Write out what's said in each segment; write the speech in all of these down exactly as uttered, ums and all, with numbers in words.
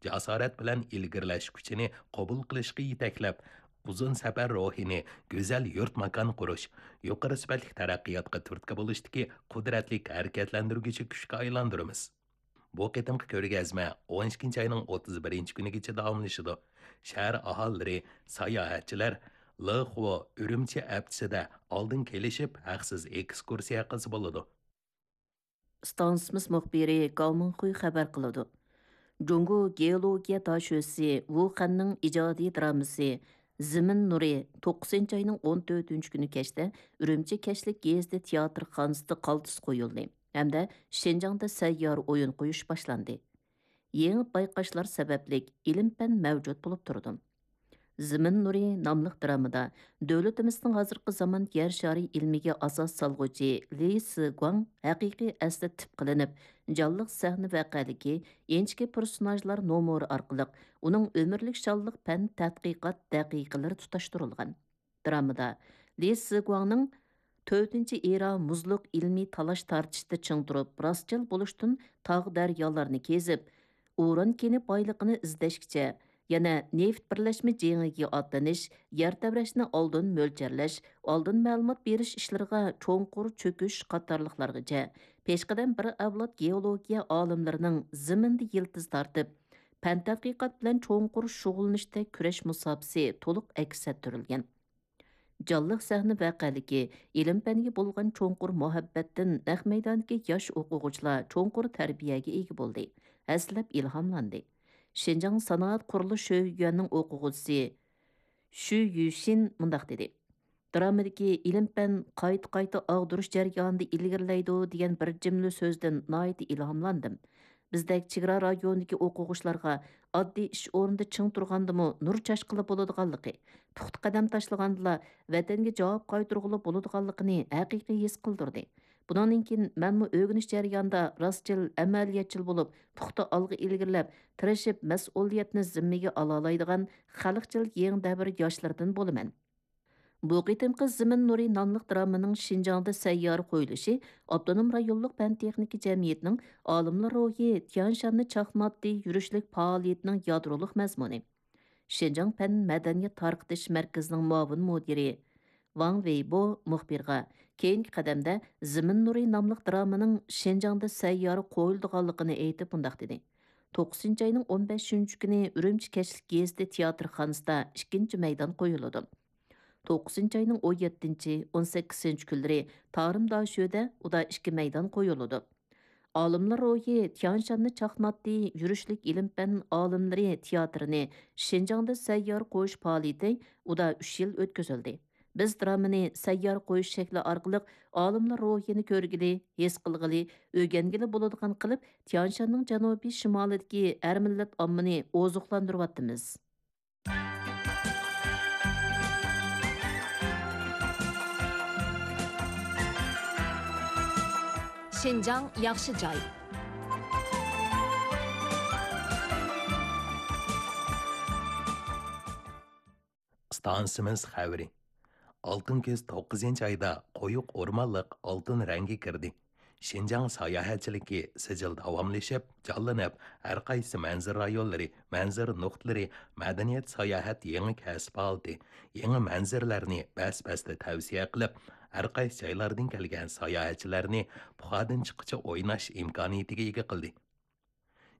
جاسارەت بىلەن ئىلگىرىلەش كۈچىنى قوبۇل قىلىشقا يېتەكلەپ، ئۇزۇن سەپەر روھىنى گۈزەل يۇرت-ماكان قۇرۇش، يۇقىرى سۈپەتلىك تەرەققىياتقا تۈرتكە بولۇشتىكى قۇدرەتلىك ھەرىكەتلەندۈرگۈچى كۈچكە ئايلاندۇرىمىز. بۇ قېتىمقى كۆرگەزمە ئون ئىككىنچى ئاينىڭ ئوتتۇز بىرىنچى كۈنىگىچە داۋاملىشىدۇ. شەھەر ئاھالىلىرى، ساياھەتچىلەر لېخۇ ئۈرۈمچى ھەپتىسىدە ئالدىن كېلىشىپ، ھەقسىز ئېكسكۇرسىيە قىلسا بولىدۇ. ئىستانسىمىز مۇخبىرى گاۋ مىڭخۇي خەۋەر قىلىدۇ. جۇڭگو گېئولوگىيە داشۆسى ۋۇ خەننىڭ ئىجادىي درامىسى زېمىن نۇرى توققۇزىنچى ئاينىڭ ئون تۆتىنچى كۈنى كەچتە ئۈرۈمچى كەچلىك گېزىتى تىياتىرخانىسىدا قالتىس قويۇلدى ھەمدە شىنجاڭدا سەييارە ئويۇن قويۇش باشلاندى. يېڭى بايقاشلار سەۋەبلىك ئىلىم-پەن مەۋجۇت بولۇپ تۇرىدۇ. زېمىن نۇرى ناملىق درامىدا دۆلىتىمىزنىڭ ھازىرقى زامان يەر شارى ئىلمىگە ئاساس سالغۇچى لى سىگۇاڭ ھەقىقىي ئەسلى تىپ قىلىنىپ، جانلىق سەھنە ۋەقەلىكى، ئىنچىكە پېرسوناژلار نومۇرى ئارقىلىق ئۇنىڭ ئۆمۈرلۈك شانلىق پەن تەتقىقات دەقىقىلىرى تۇتاشتۇرۇلغان. درامىدا لى سىگۇاڭنىڭ تۆتىنچى ئېرا مۇزلۇق ئىلمىي تالاش-تارتىشتا چىڭ تۇرۇپ، راستچىل بولۇشتىن تاغ-دەريالارنى كېزىپ، ئۇران كېنى بايلىقىنى ئىزدەشكىچە، يەنە نېفىت بىرلەشمە جېڭىگە ئاتلىنىش، يەر تەۋرەشنى ئالدىن مۆلچەرلەش، ئالدىن مەلۇمات بېرىش ئىشلىرىغا چوڭقۇر چۆكۈش قاتارلىقلارغىچە، پېشقەدەم بىر ئەۋلاد گېئولوگىيە ئالىملىرىنىڭ زېمىندا يىلتىز تارتىپ، پەن تەتقىقات بىلەن چوڭقۇر شۇغۇللىنىشتەك كۈرەش مۇساپىسى تولۇق ئەكس ئەتتۈرۈلگەن. جانلىق سەھنە ۋەقەلىكى، ئىلىم-پەنگە بولغان چوڭقۇر مۇھەببەتتىن نەق مەيداندىكى ياش ئوقۇغۇچىلار چوڭقۇر تەربىيەگە ئىگە بولدى، ھەسسىلەپ ئىلھاملاندى. شىنجاڭ سانائەت قۇرۇلۇش شۆيۈەنىنىڭ ئوقۇغۇچىسى شۈ يۈشىن مۇنداق دېدى: «درامىدىكى ئىلىم-پەن قايتا-قايتا ئاغدۇرۇش جەريانىدا ئىلگىرىلەيدۇ» دېگەن بىر جۈملە سۆزدىن ناھايىتى ئىلھاملاندىم. بىزدەك چېگرا رايونىدىكى ئوقۇغۇچىلارغا ئاددىي ئىش ئورنىدا چىڭ تۇرغاندىمۇ نۇر چاچقىلى بولىدىغانلىقى، پۇختا قەدەم تاشلىغاندىلا ۋەتەنگە جاۋاب قايتۇرغىلى بولىدىغانلىقىنى ھەقىقىي ھېس قىلدۇردى. بۇنىڭدىن كېيىن مەنمۇ ئۆگىنىش جەريانىدا راستچىل، ئەمەلىيەتچىل بولۇپ، پۇختا ئالغا ئىلگىرىلەپ، تىرىشىپ مەسئۇلىيەتنى زىممىگە ئالالايدىغان خەلقچىل يېڭى دەۋر ياشلىرىدىن بولىمەن. بۇ قېتىمقى زېمىن نۇرى ناملىق درامىنىڭ شىنجاڭدا سەييارە قويۇلۇشى ئاپتونوم رايونلۇق پەن-تېخنىكا جەمئىيىتىنىڭ ئالىملار روھى تيانشاننى چاقناتتى يۈرۈشلۈك پائالىيىتىنىڭ يادرولۇق مەزمۇنى. شىنجاڭ پەن مەدەنىيەت تارقىتىش مەركىزىنىڭ مۇئاۋىن مۇدىرى ۋاڭ ۋېيبو مۇخبىرغا كېيىنكى قەدەمدە زېمىن نۇرى ناملىق درامىنىڭ شىنجاڭدا سەييارە قويۇلىدىغانلىقىنى ئېيتىپ مۇنداق دېدى: «توققۇزىنچى ئاينىڭ ئون بەشىنچى كۈنى ئۈرۈمچى كەچلىك گېزىتى تىياتىرخانىسىدا ئىككىنچى مەيدان قويۇلىدۇ. توققۇزىنچى ئاينىڭ ئون يەتتىنچى، ئون سەككىزىنچى كۈنلىرى تارىم داشۆدە ئۇدا ئىككى مەيدان قويۇلىدۇ. ئالىملار روھى تيانشاننى چاقناتتى يۈرۈشلۈك ئىلىم-پەن ئالىملىرى تىياتىرىنى شىنجاڭدا سەييارە قويۇش پائالىيىتى ئۇدا ئۈچ يىل ئۆتكۈزۈلدى. بىز درامىنى سەييارە قويۇش شەكلى ئارقىلىق ئالىملار روھىنى كۆرگىلى، ھېس قىلغىلى، ئۆگەنگىلى بولىدىغان قىلىپ، تيانشاننىڭ جەنۇبىي شىمالىدىكى ھەر مىللەت ئاممىنى ئوزۇقلاندۇرۇۋاتىمىز.» شىنجاڭ ياخشى جاي. ئىستانسىمىز خەۋىرى. ئالتۇن كۈز توققۇزىنچى ئايدا قويۇق ئورمانلىق ئالتۇن رەڭگە كىردى. شىنجاڭ ساياھەتچىلىكى سىجىل داۋاملىشىپ، جانلىنىپ، ھەر قايسى مەنزىرە رايونلىرى، مەنزىرە نۇقتىلىرى مەدەنىيەت ساياھەت يېڭى كەسىپ ھالىتى، يېڭى مەنزىرىلەرنى بەس-بەستە تەۋسىيە قىلىپ، ھەر قايسى جايلاردىن كەلگەن ساياھەتچىلەرنى پۇخادىن چىققىچە ئويناش ئىمكانىيىتىگە ئىگە قىلدى.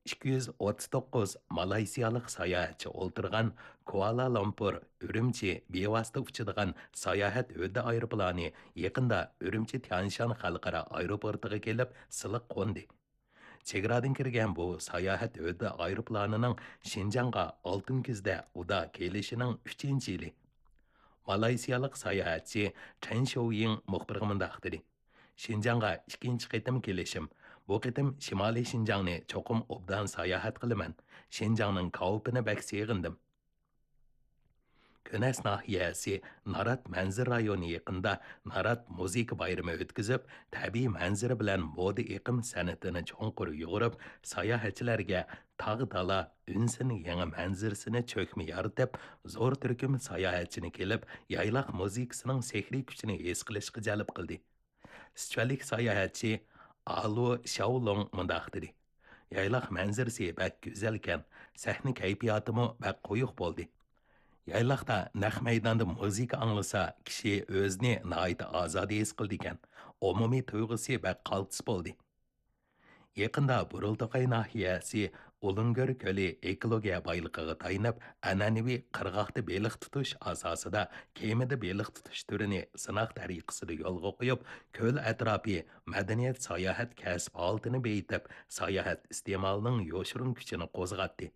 ئىككى يۈز ئوتتۇز توققۇز مالايسىيالىق ساياھەتچى ئولتۇرغان كۇئالا لامپۇر ئۈرۈمچى بىۋاسىتە ئۇچىدىغان ساياھەت ھۆددە ئايروپىلانى يېقىندا ئۈرۈمچى تيانشان خەلقئارا ئايروپورتىغا كېلىپ سىلىق قوندى. چېگرادىن كىرگەن بۇ ساياھەت ھۆددە ئايروپىلانىنىڭ شىنجاڭغا ئالتۇن كۈزدە ئۇدا كېلىشىنىڭ ئۈچىنچى يىلى. مالايسىيالىق ساياھەتچى چېن شوۋيىڭ مۇخبىرغا مۇنداق دېدى: «شىنجاڭغا ئىككىنچى قېتىم كېلىشىم. بۇ قېتىم شىمالىي شىنجاڭنى چوقۇم ئوبدان ساياھەت قىلىمەن. شىنجاڭنىڭ كاۋىپىنى بەك سېغىندىم.» كۈنەس ناھىيەسى نارات مەنزىرە رايونى يېقىندا نارات مۇزىكا بايرىمى ئۆتكۈزۈپ، تەبىئىي مەنزىرە بىلەن مودا ئېقىم سەنئىتىنى چوڭقۇر يۇغۇرۇپ، ساياھەتچىلەرگە تاغ-دالا ئۈنسىنىڭ يېڭى مەنزىرىسىنى چۆكمە يارىتىپ، زور تۈركۈم ساياھەتچىنى كېلىپ، يايلاق مۇزىكىسىنىڭ سېھرىي كۈچىنى ھېس قىلىشقا جەلپ قىلدى. سىچۈەنلىك ساياھەتچى ئالۇ شياۋلۇڭ مۇنداق دېدى: يايلاق مەنزىرىسى بەك گۈزەلكەن، سەھنە كەيپىياتىمۇ بەك قويۇق بولدى. يايلاقتا نەق مەيداندا مۇزىكا ئاڭلىسا، كىشى ئۆزىنى ناھايىتى ئازادە ھېس قىلىدىكەن. ئومۇمىي تۇيغۇسى بەك قالتىس بولدى. يېقىندا بۇرۇلتاقاي ناھىيەسى ئۇلۇنگۆر كۆلى ئېكولوگىيە بايلىقىغا تايىنىپ، ئەنئەنىۋى قىرغاقتا بېلىق تۇتۇش ئاساسىدا كېمىدە بېلىق تۇتۇش تۈرىنى سىناق تەرىقىسىدە يولغا قويۇپ، كۆل ئەتراپى مەدەنىيەت ساياھەت كەسىپ ھالىتىنى بېيىتىپ، ساياھەت ئىستېمالىنىڭ يوشۇرۇن كۈچىنى قوزغاتتى.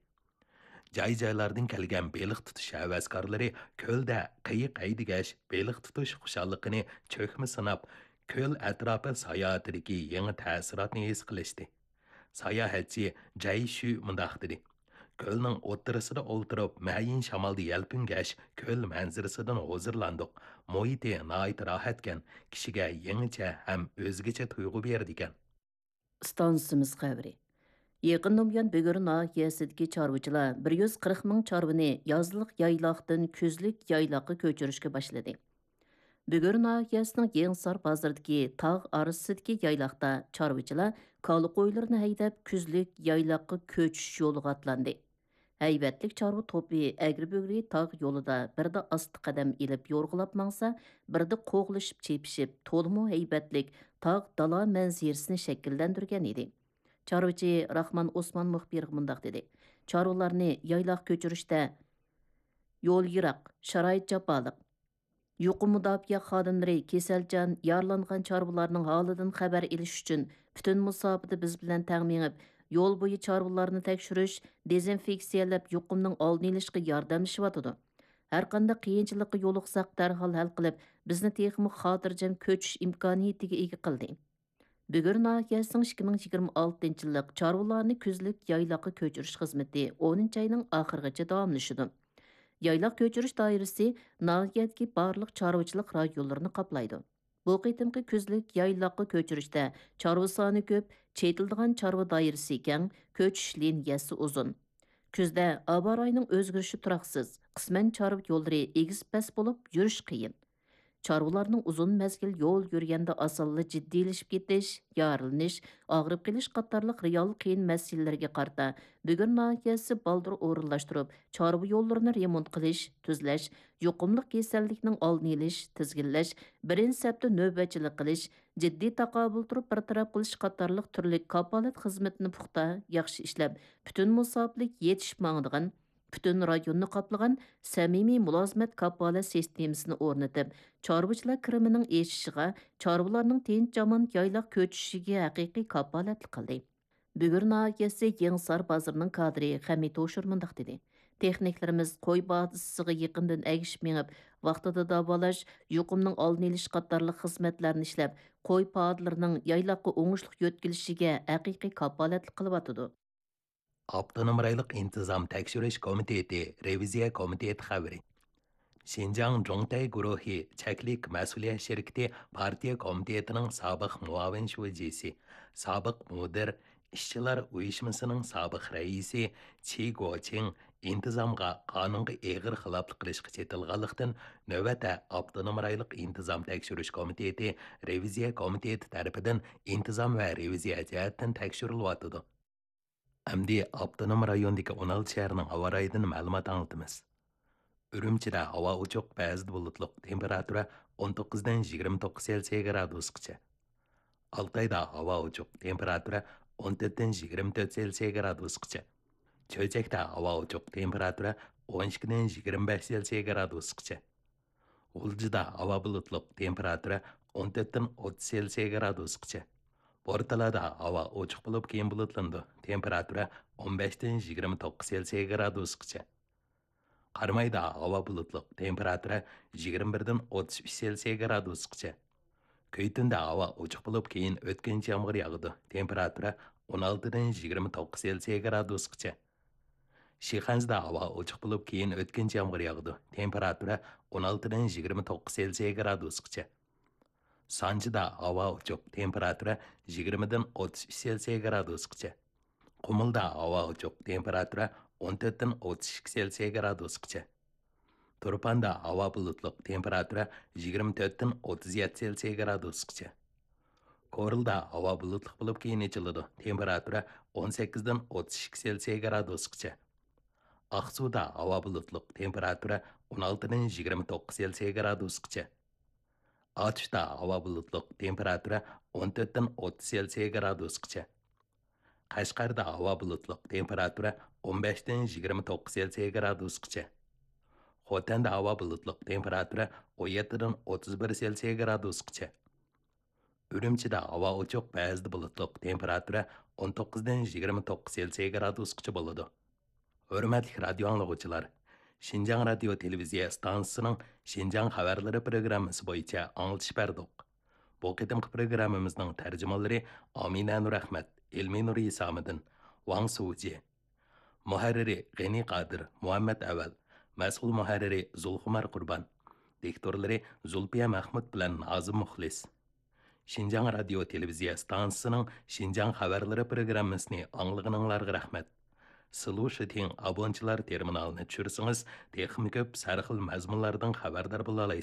جاي-جايلاردىن كەلگەن بېلىق تۇتۇش ھەۋەسكارلىرى كۆلدە قېيىق ھەيدىگەچ، بېلىق تۇتۇش خۇشاللىقىنى چۆكمە سىناپ، كۆل ئەتراپى ساياھىتىدىكى يېڭى تەسىراتنى ھېس قىلىشتى. ساياھەتچى جەي شۈ مۇنداق دېدى: «كۆلنىڭ ئوتتۇرىسىدا ئولتۇرۇپ، مەيىن شامالدا يەلپۈنگەچ، كۆل مەنزىرىسىدىن ھۇزۇرلاندۇق. مۇھىتى ناھايىتى راھەتكەن، كىشىگە يېڭىچە ھەم ئۆزگىچە تۇيغۇ بېرىدىكەن.» ئىستانسىمىز خەۋىرى. يېقىندىن بۇيان بۈگۈر ناھىيەسىدىكى چارۋىچىلار بىر يۈز قىرىق مىڭ چارۋىنى يازلىق يايلاقتىن كۈزلۈك يايلاققا كۆچۈرۈشكە باشلىدى. بۈگۈر ناھىيەسىنىڭ يېڭىسار بازىرىدىكى تاغ ئارىسىدىكى يايلاقتا چارۋىچىلار كالا قويلىرىنى ھەيدەپ، كۈزلۈك يايلاققا كۆچۈش يولىغا ئاتلاندى. ھەيۋەتلىك چارۋا توپى ئەگرى-بۈگرى تاغ يولىدا بىردە ئاستا قەدەم ئېلىپ يورغىلاپ ماڭسا، بىردە قوغلىشىپ چېپىشىپ، تولىمۇ ھەيۋەتلىك تاغ دالا مەنزىرىسىنى شەكىللەندۈرگەن ئىدى. چارۋىچى راخمان ئوسمان مۇخبىرغا مۇنداق دېدى: «چارۋىلارنى يايلاققا كۆچۈرۈشتە يول يىراق، شارائىت جاپالىق. يۇقۇم مۇداپىئە خادىملىرى كېسەلچان، يارىلانغان چارۋىلارنىڭ ھالىدىن خەۋەر ئېلىش ئۈچۈن پۈتۈن مۇساپىدە بىز بىلەن تەڭ مېڭىپ، يول بويى چارۋىلارنى تەكشۈرۈش، دېزىنفېكسىيەلەپ، يۇقۇمنىڭ ئالدىنى ئېلىشقا ياردەملىشىۋاتىدۇ. ھەرقانداق قىيىنچىلىققا يولۇقساق، دەرھال ھەل قىلىپ، بىزنى تېخىمۇ خاتىرجەم كۆچۈش ئىمكانىيىتىگە ئىگە قىلدى.» بۈگۈر ناھىيەسىنىڭ ئىككى مىڭ يىگىرمە ئالتىنچى يىللىق چارۋىلارنى كۈزلۈك يايلاققا كۆچۈرۈش خىزمىتى ئونىنچى ئاينىڭ ئاخىرىغىچە داۋاملىشىدۇ. يايلاق كۆچۈرۈش دائىرىسى ناھىيەدىكى بارلىق چارۋىچىلىق رايونلىرىنى قاپلايدۇ. بۇ قېتىمقى كۈزلۈك يايلاققا كۆچۈرۈشتە چارۋا سانى كۆپ، چېتىلىدىغان چارۋا دائىرىسى كەڭ، كۆچۈش لىنىيەسى ئۇزۇن. كۈزدە ھاۋا رايىنىڭ ئۆزگىرىشى تۇراقسىز، قىسمەن چارۋا يوللىرى ئېگىز-پەس بولۇپ، يۈرۈش قىيىن. چارۋىلارنىڭ ئۇزۇن مەزگىل يول يۈرگەندە ئاسانلا جىددىيلىشىپ كېتىش، يارىلىنىش، ئاغرىپ قېلىش قاتارلىق رېئال قىيىن مەسىلىلىرىگە قارىتا، بۈگۈر ناھىيەسى بالدۇر ئورۇنلاشتۇرۇپ، چارۋا يوللىرىنى رېمونت قىلىش، تۈزلەش، يۇقۇملۇق كېسەللىكنىڭ ئالدىنى ئېلىش، تىزگىنلەش، بىرىنچى سەپتە نۆۋەتچىلىك قىلىش، جىددىي تاقابىل تۇرۇپ بىر تەرەپ قىلىش قاتارلىق تۈرلۈك كاپالەت خىزمىتىنى پۇختا، ياخشى ئىشلەپ، پۈتۈن مۇساپىلىك يېتىشىپ ماڭىدىغان، پۈتۈن رايوننى قاپلىغان سەمىمىي مۇلازىمەت كاپالەت سىستېمىسىنى ئورنىتىپ، چارۋىچىلار كىرىمىنىڭ ئېشىشىغا، چارۋىلارنىڭ تىنچ-ئامان يايلاق كۆچۈشىگە ھەقىقىي كاپالەتلىك قىلدى. بۈگۈر ناھىيەسى يېڭىسار بازىرىنىڭ كادىرى خەمىت ھوشۇر مۇنداق دېدى: «تېخنىكلىرىمىز قوي باغچىسىغا يېقىندىن ئەگىشىپ مېڭىپ، ۋاقتىدا داۋالاش، يۇقۇمنىڭ ئالدىنى ئېلىش قاتارلىق خىزمەتلەرنى ئىشلەپ، قوي پادىلىرىنىڭ يايلاققا ئوڭۇشلۇق يۆتكىلىشىگە ھەقىقىي كاپالەتلىك قىلىۋاتىدۇ.» ئاپتونوم رايونلۇق ئىنتىزام تەكشۈرۈش كومىتېتى رېۋىزىيە كومىتېتى خەۋىرى. شىنجاڭ جۇڭتەي گۇرۇھى چەكلىك مەسئۇلىيەت شىركىتى پارتىيە كومىتېتىنىڭ سابىق مۇئاۋىن شۇجىسى، سابىق مۇدىر، ئىشچىلار ئۇيۇشمىسىنىڭ سابىق رەئىسى چى گوچىڭ ئىنتىزامغا، قانۇنغا ئېغىر خىلاپلىق قىلىشقا چېتىلغانلىقتىن، نۆۋەتتە ئاپتونوم رايونلۇق ئىنتىزام تەكشۈرۈش كومىتېتى رېۋىزىيە كومىتېتى تەرىپىدىن ئىنتىزام ۋە رېۋىزىيە جەھەتتىن تەكشۈرۈلۈۋاتىدۇ. ئەمدى ئاپتونوم رايوندىكى ئون ئالتە شەھەرنىڭ ھاۋا رايىدىن مەلۇمات ئاڭلىتىمىز. ئۈرۈمچىدە ھاۋا ئوچۇق، بەزىدە بۇلۇتلۇق، تېمپېراتۇرا ئون توققۇزدىن يىگىرمە توققۇز سېلسىيە گرادۇسقىچە. ئالتايدا ھاۋا ئوچۇق، تېمپېراتۇرا ئون تۆتتىن يىگىرمە تۆت سېلسىيە گرادۇسقىچە. چۆچەكتە ھاۋا ئوچۇق، تېمپېراتۇرا ئون ئىككىدىن يىگىرمە بەش سېلسىيە گرادۇسقىچە. غۇلجىدا ھاۋا بۇلۇتلۇق، تېمپېراتۇرا ئون تۆتتىن ئوتتۇز سېلسىيە گرادۇسقىچە. بورتالادا ھاۋا ئوچۇق بولۇپ، كېيىن بۇلۇتلىنىدۇ، تېمپېراتۇرا ئون بەشتىن يىگىرمە توققۇز سېلسىيە گرادۇسقىچە. قارامايدا ھاۋا بۇلۇتلۇق، تېمپېراتۇرا يىگىرمە بىردىن ئوتتۇز ئۈچ سېلسىيە گرادۇسقىچە. كۈيتۈندە ھاۋا ئوچۇق بولۇپ، كېيىن ئۆتكۈنچى يامغۇر ياغىدۇ، تېمپېراتۇرا ئون ئالتىدىن يىگىرمە توققۇز سېلسىيە گرادۇسقىچە. شىخەنزىدە ھاۋا ئوچۇق بولۇپ، كېيىن ئۆتكۈنچى يامغۇر ياغىدۇ، تېمپېراتۇرا ئون ئالتىدىن يىگىرمە توققۇز سېلسىيە گرادۇسقىچە. سانجىدا ھاۋا ئوچۇق، تېمپېراتۇرا يىگىرمىدىن ئوتتۇز ئۈچ سېلسىيە گرادۇسقىچە. قۇمۇلدا ھاۋا ئوچۇق، تېمپېراتۇرا ئون تۆتتىن ئوتتۇز ئىككى سېلسىيە گرادۇسقىچە. تۇرپاندا ھاۋا بۇلۇتلۇق، تېمپېراتۇرا يىگىرمە تۆتتىن ئوتتۇز يەتتە سېلسىيە گرادۇسقىچە. كورلىدا ھاۋا بۇلۇتلۇق بولۇپ، كېيىن ئېچىلىدۇ. تېمپېراتۇرا ئون سەككىزدىن ئوتتۇز ئىككى سېلسىيە گرادۇسقىچە. ئاقسۇدا ھاۋا بۇلۇتلۇق، تېمپېراتۇرا ئون ئالتىدىن يىگىرمە توققۇز سېلسىيە گرادۇسقىچە. ئاتۇشتا ھاۋا بۇلۇتلۇق، تېمپېراتۇرا ئون تۆتتىن ئوتتۇز سېلسىيە گرادۇسقىچە. قەشقەردە ھاۋا بۇلۇتلۇق، تېمپېراتۇرا ئون بەشتىن يىگىرمە توققۇز سېلسىيە گرادۇسقىچە. خوتەندە ھاۋا بۇلۇتلۇق، تېمپېراتۇرا ئون يەتتىدىن ئوتتۇز بىر سېلسىيە گرادۇسقىچە. ئۈرۈمچىدە ھاۋا ئوچۇق، بەزىدە بۇلۇتلۇق، تېمپېراتۇرا ئون توققۇزدىن يىگىرمە توققۇز سېلسىيە گرادۇسقىچە بولىدۇ. ھۆرمەتلىك رادىيو ئاڭلىغۇچىلار، شىنجاڭ رادىيو تېلېۋىزىيە ئىستانسىسىنىڭ شىنجاڭ خەۋەرلىرى پروگراممىسى بويىچە ئاڭلىتىش بەردۇق. بۇ قېتىمقى پروگراممىمىزنىڭ تەرجىمانلىرى ئامىنە نۇرئەخمەت، ئىلمىنۇر ھېسامىدىن، ۋاڭ سۇجى. مۇھەررىرى غېنى قادىر، مۇھەممەت ئەۋەل. مەسئۇل مۇھەررىرى زۇلخۇمار قۇربان. دىكتورلىرى زۇلپىيە مەخمۇت بىلەن نازىم مۇخلىس. شىنجاڭ رادىيو تېلېۋىزىيە ئىستانسىسىنىڭ شىنجاڭ خەۋەرلىرى پروگراممىسىنى ئاڭلىغىنىڭلارغا رەھمەت. سلۇشىتىڭ ئابونچىلار تېرمىنالىنى چۈشۈرسىڭىز، تېخىمۇ كۆپ سەرخىل مەزمۇنلاردىن خەۋەردار بولالايسىز.